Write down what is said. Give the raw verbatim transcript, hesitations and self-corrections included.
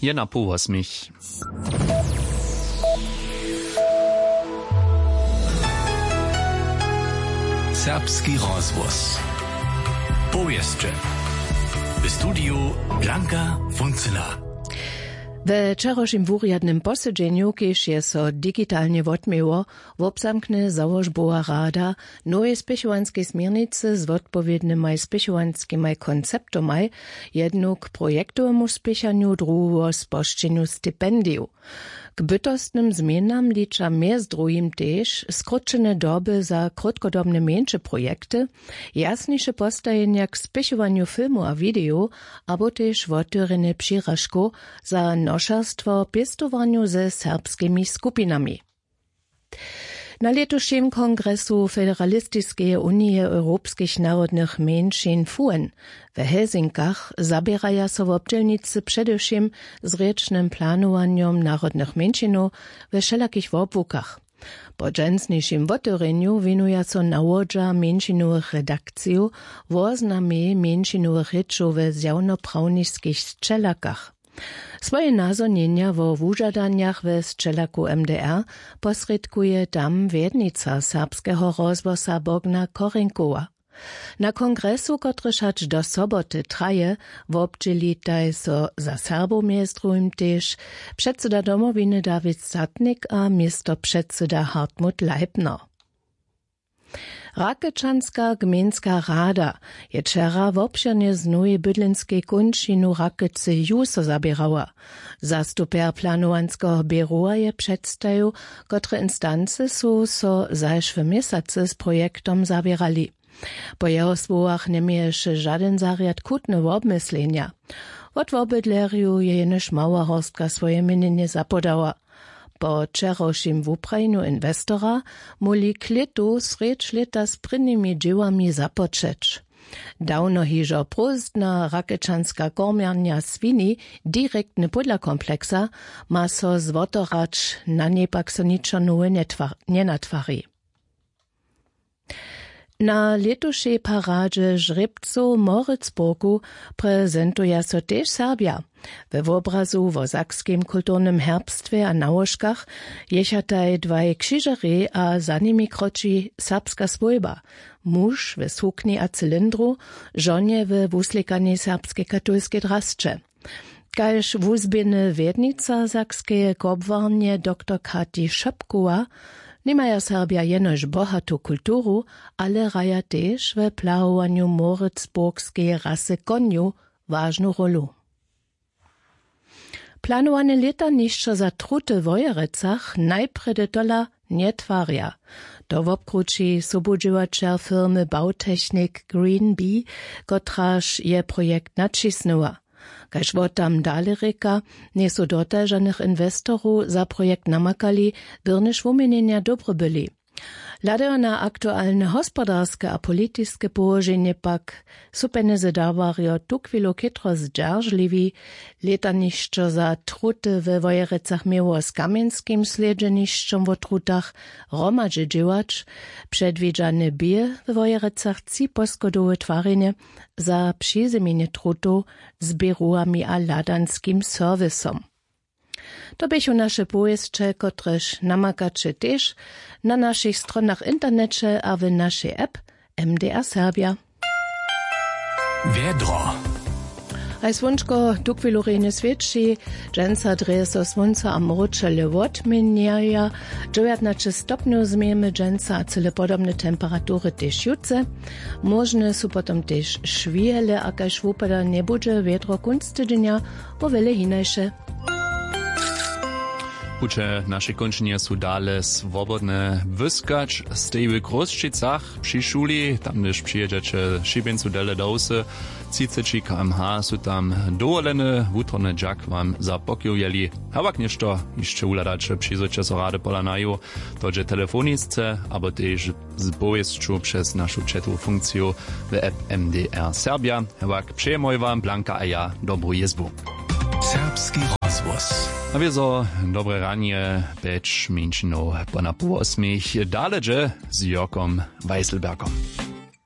Jedna połosmich. Serbski rozhłos. Powěsće. W studiju Blanka Funcyna. We wčerawšim wurjadnym posedźenju, kiž je so digitalnje wotměło, wobzamkny załožbowa rada nowej spěchowanskej směrnicy z wotpowědnymaj spěchowanskimaj konceptomaj, jednu k projektowemu spěchanju, druhu wo spožčenju stipendijow. K bytostnym změnam liča mjez druhim tež skrótšene doby za krótkodobne mjeńše projekty, jasniše postajenja k spěchowanju filmow a widejow, abo tež wotewrjenje přiražkow za nošerstwo w pěstowarnju ze serbskimi skupinami. Na lětušim kongresu Federalistiskeje unije europskich narodnych mjeńšin FUEN w Helsinkach zaběraja so wobdźělnicy předewšěm z rěčnym planowanjom narodnych mjeńšinow we wšelakich wobłukach. Po dźensnišim wotewrjenju wěnuja so nawodźa mjeńšinowych redakcijow woznamej mjeńšinowych rěčow we zjawnoprawniskich sćelakach. Swoje nazhonjenja wo wužadanjach we sćelaku M D R posrědkuje tam wjednica serbskeho rozhłosa Bogna Korenkowa. Na kongresu, kotryž hač do soboty traje, wobdźělitaj so za Serbow mjez druhim tež předsyda Domowiny Dawid Satnik a městopředsyda Hartmut Leipner. Rakečanska gmejnska rada je wčera wobšěrnje z nowej bydlenskej kónčinu Rakece ju so zaběrała. Zastupjer planowanskeho běrowa je předstajił, kotre instancy su so zašły měsacy z projektom zaběrali. Po jeho słowach njeměješe žadyn zarjad chutne wobmyslenja. Wot wobydlerjow je jenož mała horstka swoje měnjenje zapodała. Po wčerawšim wuprajenju inwestora móhli klětu srjedź lěta z prěnimi dźěłami započeć. Dawno hižo prózdna rakečanska kormjarnja swini, direktny pódla kompleksa, ma so złoto hrać, na njej pak so ničo nowe njenatwari. Na lětušej paradźe žrěbcow w Moritzburgu prezentuja so tež Serbja. We wobrazu wo sakskim kulturnym herbstwje a nałožkach jěchataj dwaj křižerjej a za nimi kroči serbska swójba, muž we sukni a cylindru, žonje we wuslěkanej serbskej katolskej drasće. Kaž wuzběhny wjednica sakskeje kobłarnje doktor Kati Šopkowa, nimaja Serbja jenož bohatu kulturu, ale hraja tež we plahowanju moritzburgskeje rasy konjow wažnu rólu. Planowane lětanišćo za truty w Wojerecach najprjedy tola njetwarja. To wobkrući sobudźěłaćer firmy Bautechnik Green Bee, kotraž je projekt naćisnyła. Kaž wot tam dale rěka, njejsu dotal žanych inwestorow za projekt namakali, byrnjež wuměnjenja dobre byli. Hladajo na aktualne hospodarske a politiske połoženje pak, su pjenjezy dawarjo tuchwilu chětro zdźeržliwi. Lětanišćo za truty we Wojerecach měło z kamjenskim slědźenišćom wo trutach hromadźe dźěłać. Předwidźane bě we Wojerecach tři poschodowe twarjenje za přizymjenje trutow z běrowami a hladanskim serwisom. To běchu naše powěsće, kotrež namakaće tež na našich stronach w interneće a w našej app M D R Serbja. Wjedro. Haj słónčko tuchwilu rjenje swěći. Dźensa drje so słónco a mróčele wotměnjaja. Dźewjatnaće stopnjow změjemy dźensa a cyle podobne temperatury tež jutře. Móžne su potom tež šwihele a kaž wupada njebudźe wjedro kónc tydźenja, wo wjele hinaše. Puće našej kónčinje su dale swobodne. Wyskać stej w Chrósćicach při šuli, tam hdyž přijědźeće šibjeńcu dele do wsy, třiceći km/h su tam dowolene. Wutrobny dźak wam za pokiwjeli. Hewak něšto hišće wuhladaće, přizwójće so rady pola naju, to dźe telefonisce abo tež z powěsću přez našu chatowu funkciju w app M D R Serbja. Hewak přejemoj wam Blanka a ja dobru jězbu. Serbski rozhłos. A wězo dobre ranje, pjeć mjeńšinow po na pół wosmich. Dale dźe z Jórkom Weisselbergom.